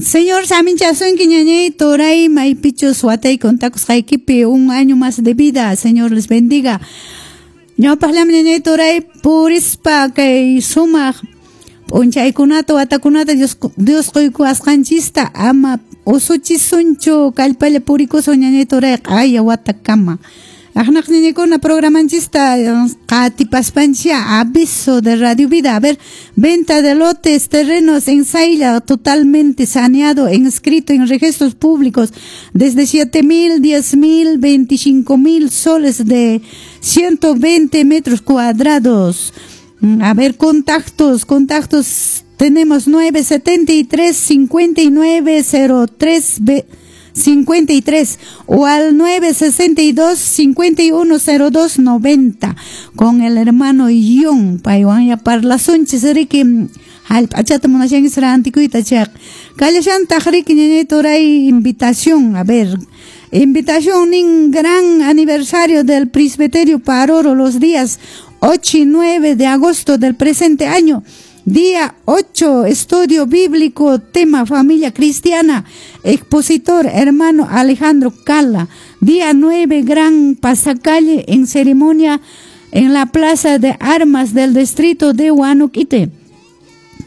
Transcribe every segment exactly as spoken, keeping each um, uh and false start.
Señor saminchasunki ñañay turay maypichus watay contakusqaykipi un año más de vida. Señor les bendiga. Ñawpaqllami ñañay turay purispa kay sumaq p'unchaykunata watakunata Dios Dios quykuwasqanchista ama usuchisunchu kallpalla purikusun ñañay turay q'aya watakama. Aqnaq ñañaykuna programanchista qatipaspanchia aviso de Radio Vida. A ver, venta de lotes, terrenos en Sayla, totalmente saneado, inscrito en registros públicos, desde siete mil, diez mil, veinticinco mil soles de ciento veinte metros cuadrados. A ver, contactos, contactos, tenemos nueve setenta y tres, cincuenta y nueve, cero tres, cincuenta y tres o al nueve sesenta y dos, cincuenta y uno, cero dos, noventa con el hermano Ion paywan ya parlasunchis riki hallp'achata munashanki rantikuyta chayqa kallashantaq riki ñañay turay invitación. A ver, invitación nin gran aniversario del presbiterio Paruro los días ocho y nueve de agosto del presente año. Día ocho, estudio bíblico, tema familia cristiana, expositor hermano Alejandro Cala. Día nueve, gran pasacalle en ceremonia en la plaza de armas del distrito de Huanoquite,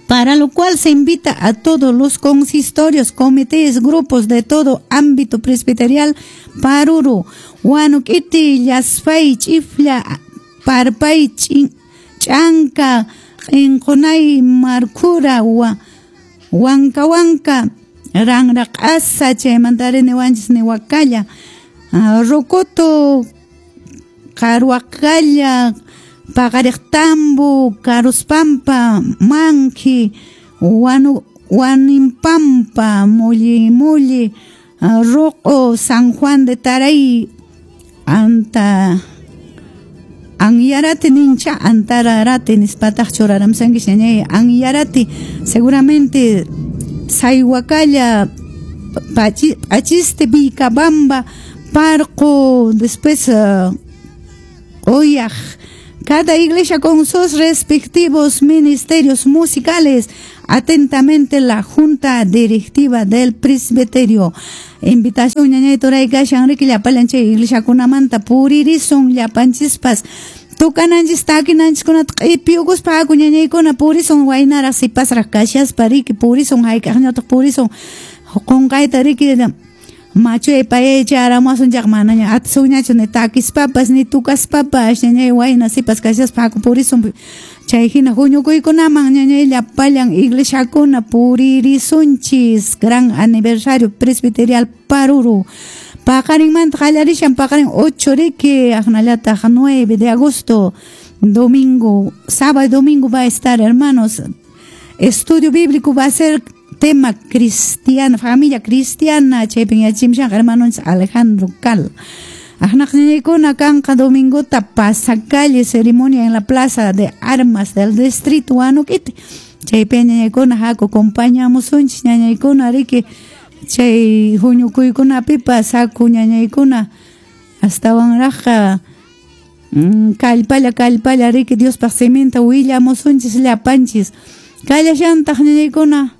para lo cual se invita a todos los consistorios, comités, grupos de todo ámbito presbiterial, Paruro, Huanoquite, Llaspay, Chifla, Parpay, Chanca, Inqunay, Marcura, Huanca Huanca, Ranraq'asa, chaymantari niwanchis niwakalla, Rocoto, Carhuacalla, Paqariqtambo, Caruspampa, Manqui, Huanu, Huanimpampa, Mulli Mulli, Roco, San Juan de Taray, Anta Anyarati nincha, Antararati nispataq churaramsanki ñañay, Anyarati, seguramente Sayhuacalla, Pachiste, Vilcabamba, Parco, después uh, Oyaj. Cada iglesia con sus respectivos ministerios musicales. Atentamente la Junta Directiva del Presbiterio. Invitación ñañay turay kashan riki llapallan chay iglesiakunamanta puririsun llapanchispas tukananchis takinanchis-kunata q'ipiyukuspa haku ñañaykuna purisun waynaraq sipasraq kashaspa riki purisun hayk'aqñataq purisun qunqayta riki machuy payay chayaramuwasun chayqa manaña atisunñachu ni takispapas ni tukaspapas ñañay wayna sipas kashaspa haku purisun chay hina huñukuykunaman ñañay llapallan iglesiakuna puririsunchis gran aniversario presbiterial Paruro. Paqarinmanta qallarishan paqarin ocho riki aqnallataq nueve de agosto domingo, sábado y domingo va a estar, hermanos. Estudio bíblico va a ser tema cristiano, familia cristiana, chaypin yachimshan hermanos Alejandro Cal. Aqnaq ñañaykuna kanqa domingota pasacalle ceremonia en la plaza de armas del distrito Huanoquite. Chaypi ñañaykuna haku acompañamusunchis ñañaykuna riki chay huñukuykunapipas haku ñañaykuna astawanraqqa kallpalla kallpalla riki Diospaq siminta willamusunchis llapanchis. Kallashantaq ñañaykuna.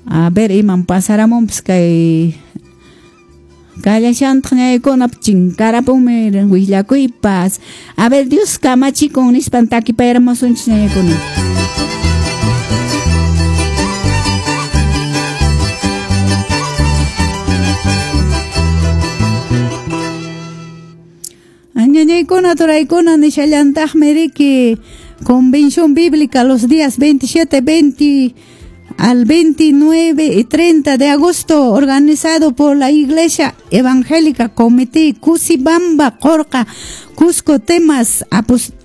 A ver, iman pasaramunpas kay kallashantaq ñañaykuna chinkarapunmi willakuypas. A ver, Dios kamachikun nispan takipayaramusunchis ñañaykuna. Ñañaykuna turaykuna nishallantaqmi riki convención bíblica los días veintisiete, veinte al veintinueve y treinta de agosto, organizado por la Iglesia Evangélica Comité Cusibamba, Corca, Cusco, temas apost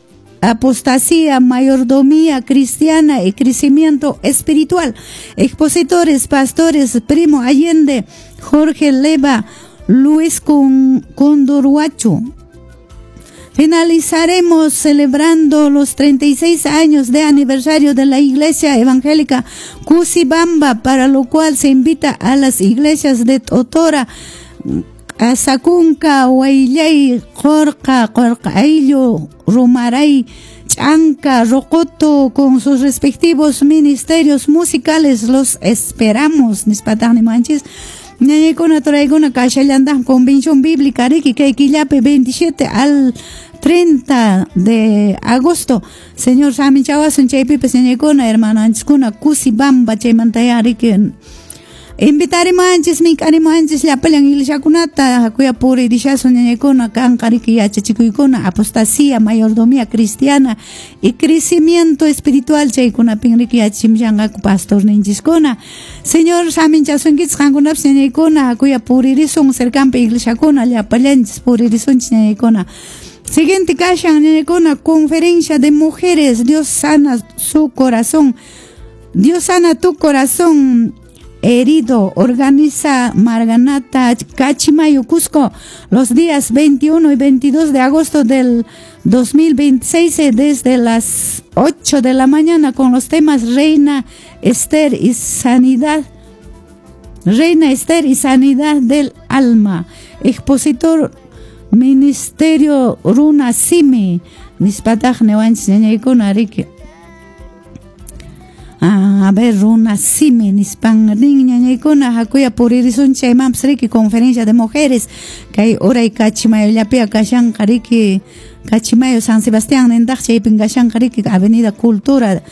apostasía, mayordomía cristiana y crecimiento espiritual. Expositores, pastores, Primo Allende, Jorge Leva, Luis Condorhuacho. Finalizaremos celebrando los treinta y seis años de aniversario de la Iglesia Evangélica Cusibamba, para lo cual se invita a las iglesias de Totora, Q'asakunka, Wayllay, Qorqa, Qorqa Ayllu, Rumaray, Chanca, Rocoto, con sus respectivos ministerios musicales, los esperamos. Nispataq nimanchis. Ñañaykuna, turaykuna, kashallantaj convención bíblica riki kay killapi veintisiete al treinta de agosto. Señor saminchawasun chaypipas ñañaykuna, hermananchiskuna, kusi bamba chaymantaya riki invitarimanchis, mink'arimanchis llapallan iglesiakunata, hakuya puririshasun ñañaykuna, kanqa riki yachachikuykuna, apostasía, mayordomía cristiana y crecimiento espiritual chaykunapin riki yachachimshanqaku pastorninchiskuna. Señor saminchasunkichis qankunapas ñañaykuna, hakuya puririsun cercanpi iglesiakuna, llapallanchis puririsunchis ñañaykuna. Siguiente kashan ñañaykuna, conferencia de mujeres, Dios sana su corazón. Dios sana tu corazón herido, organiza Marganata Cachimayo Cusco los días veintiuno y veintidós de agosto del dos mil veintiséis desde las ocho de la mañana con los temas Reina Esther y Sanidad, Reina Esther y Sanidad del Alma. Expositor Ministerio Runa Simi, nispataq niwanchis ñañaykuna riki. Ah, a ver, Runa Simi, nispan nin ñañaykuna, hakuya puririsun chaymanpas riki conferencia de mujeres, kay uray Cachimayollapia kashanqa riki, Cachimayo San Sebastián nintaq chaypin kashanqa riki, Avenida Cultura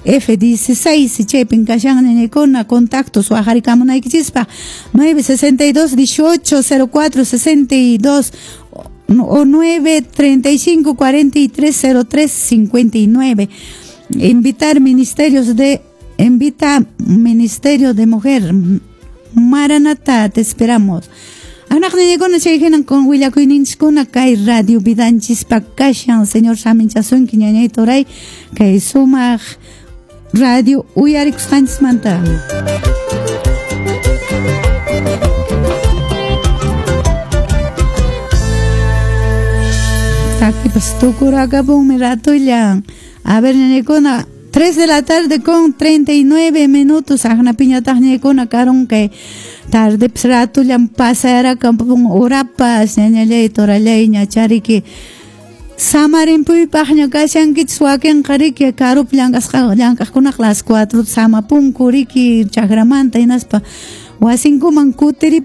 F dieciséis chaypin kashan ñañaykuna, contactos waqharikamunaykichispa nueve sesenta y dos dieciocho cero cuatro sesenta y dos o nueve treinta y cinco cuarenta y tres cero tres cincuenta y nueve. Invitar ministerios de, invita Ministerio de Mujer Maranata, te esperamos. Anak ñañaykuna chay hinan con willakuyninchiskuna kay radio vidanchispa kashan. Señor saminchasunki ñañay turay kay sumaq radio uyarikusqanchismanta. Takipas tukurakapunmi ratullan. A ver, ñañaykuna, tres de la tarde con treinta y nueve minutos. Aqnapiñataq ñañaykuna karun kay tardepas ratullan pasayarakampun urapas ñañallay torallay ñachariki samarinpuypaqña kashankichis wakinqa riki karupi llank'asqa llank'aqkunaqa las cuatro samapunku riki chakramanta hinaspa wasinkuman kutirip